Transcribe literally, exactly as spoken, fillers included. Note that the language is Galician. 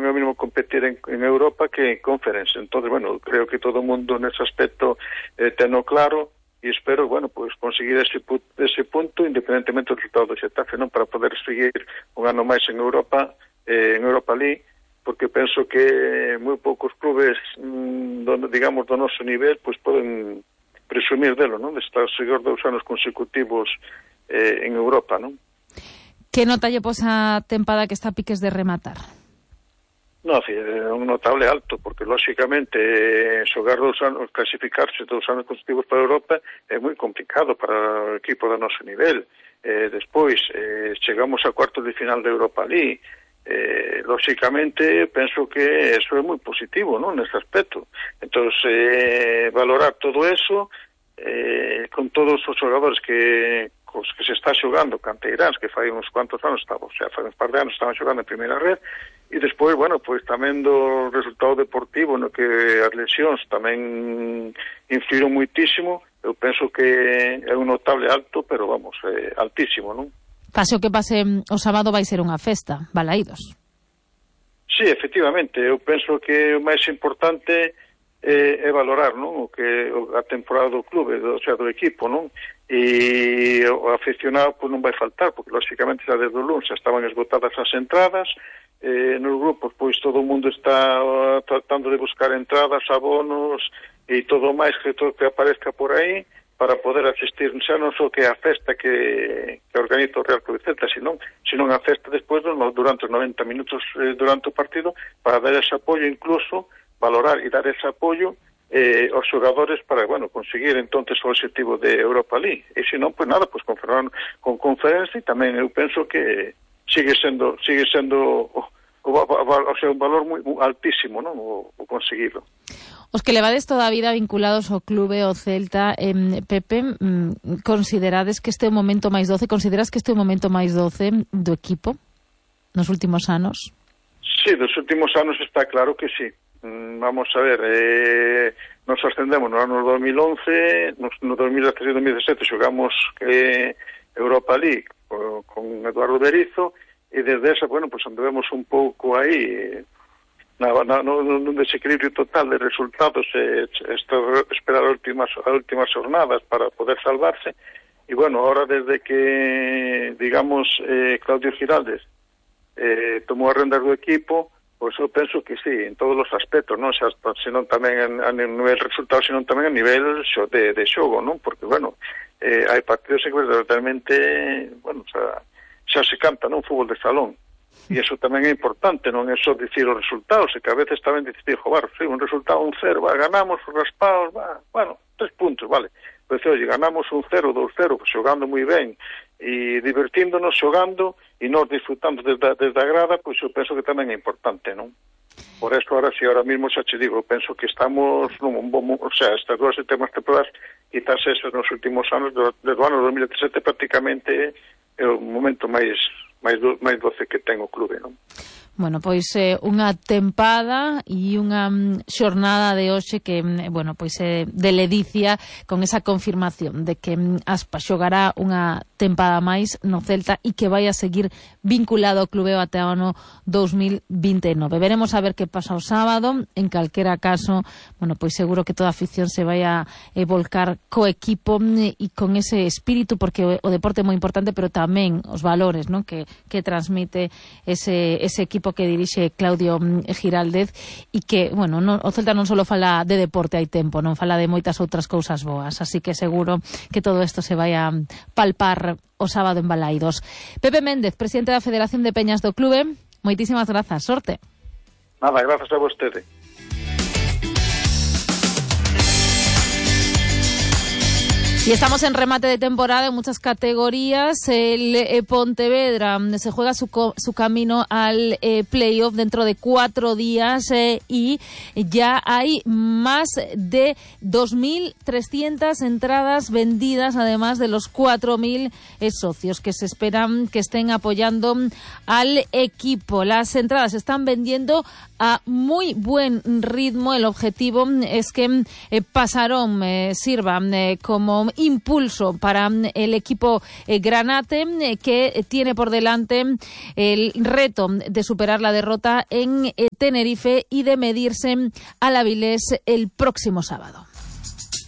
non é o mismo competir en, en Europa que en Conference. Entonces, bueno, creo que todo o mundo nese aspecto eh, teno claro, e espero, bueno, pues conseguir ese, ese punto independentemente do resultado do Xetafe, non, para poder seguir un ano máis en Europa, eh, en Europa League, porque penso que moi poucos clubes, mmm, do, digamos, do noso nivel, pues poden presumir delo, non, de estar seguir dous anos consecutivos eh, en Europa, non. Que nota lle pos a tempada que está a piques de rematar? No, é un notable alto, porque lógicamente eh, xogar dous anos, clasificarse dous anos consecutivos para Europa é moi complicado para o equipo do noso nivel. Eh, despois, eh, chegamos a cuartos de final de Europa League. Eh, lógicamente, penso que eso é moi positivo, non, nesse aspecto. Entón, eh, valorar todo eso, eh, con todos os xogadores que cos que se está xogando, canteiráns, que fai uns cuantos anos, estaba, o sea, fai uns par de anos estaban xogando en primeira red, e despois, bueno, pois tamén do resultado deportivo, no que as lesións tamén influíron muitísimo. Eu penso que é un notable alto, pero vamos, é altísimo, non? Pase o que pase o sábado vai ser unha festa, Balaídos. Sí, efectivamente, eu penso que o máis importante é, é valorar, non, o que a temporada do clube, do, o sea, do equipo, non? E o aficionado pois non vai faltar, porque lógicamente xa desde o lunes estaban esgotadas as entradas, eh, nos grupos pois todo o mundo está uh, tratando de buscar entradas, abonos e todo máis que todo que aparezca por aí para poder asistir xa non só que a festa que, que organiza o Real Club Celta, sino, sino a festa despois durante os noventa minutos eh, durante o partido, para dar ese apoio, incluso valorar e dar ese apoio eh, aos xogadores para, bueno, conseguir entonces o objetivo de Europa League. E se non, pois nada, pois con Fernando, con Conference, tamén eu penso que sigue sendo sigue sendo o, o, o sea, un valor moi altísimo, non, o, o conseguido. Os que levades toda a vida vinculados ao clube, ao Celta, eh, Pepe, mm, considerades que este é o momento máis doce, consideras que este é o momento máis doce do equipo nos últimos anos? Sí, dos últimos anos está claro que sí. Vamos a ver, eh, nos ascendemos no ano dos mil once, no, no dos mil dezasete e dos mil dezasete xogamos eh, Europa League con, con Eduardo Berizzo, e desde esa, bueno, pues anduvemos un pouco aí na, na, no, nun desequilibrio total de resultados, eh, esperar as últimas, as últimas jornadas para poder salvarse, e bueno, ahora desde que, digamos, eh, Claudio Giraldes eh, tomou a rendas do equipo, pois eu penso que sí, en todos os aspectos, non? Xa, senón tamén a, a nivel resultado, senón tamén a nivel xo, de, de xogo, non? Porque, bueno, eh, hai partidos que verdadeiramente, bueno, xa, xa se canta, non? Fútbol de salón. E iso tamén é importante, non é só dicir os resultados, e que a veces tamén dicir, joder, sí, un resultado un cero, va, ganamos, raspados, va, bueno, tres puntos, vale. Pois, oye, ganamos un cero, dous cero, xogando moi ben, e divertíndonos, xogando, e nós disfrutando desde, desde a grada, pois eu penso que tamén é importante, non? Por eso, ahora si, ahora mismo xa che digo, penso que estamos, nun bom, o sea, estas dúas últimas temporadas, quizás esos nos últimos anos, desde o ano dos mil dezasete, prácticamente é o momento máis máis, do, máis doce que ten o clube, non? Bueno, pois eh, unha tempada e unha mm, xornada de hoxe que, mm, bueno, pois é eh, de ledicia con esa confirmación de que mm, Aspa xogará unha tempada máis no Celta e que vai a seguir vinculado ao clube até o ano dos mil vinte e nove. Veremos a ver que pasa o sábado. En calquera caso, bueno, pois seguro que toda a afición se vai a eh, volcar co equipo mm, e con ese espírito, porque o, o deporte é moi importante, pero tamén os valores, ¿no?, que, que transmite ese, ese equipo que dirixe Claudio Giraldez, e que, bueno, non, o Celta non só fala de deporte, hai tempo, non fala de moitas outras cousas boas, así que seguro que todo isto se vai a palpar o sábado en Balaídos. Pepe Méndez, presidente da Federación de Peñas do clube, moitísimas grazas, sorte. Nada, grazas a vostede. Y estamos en remate de temporada en muchas categorías. El eh, Pontevedra se juega su, su camino al eh, playoff dentro de cuatro días eh, y ya hay más de dos mil trescientas entradas vendidas, además de los cuatro mil eh, socios que se esperan que estén apoyando al equipo. Las entradas se están vendiendo a muy buen ritmo. El objetivo es que eh, Pasarón eh, sirva eh, como un impulso para el equipo eh, granate, eh, que tiene por delante el reto de superar la derrota en eh, Tenerife y de medirse al Avilés el próximo sábado.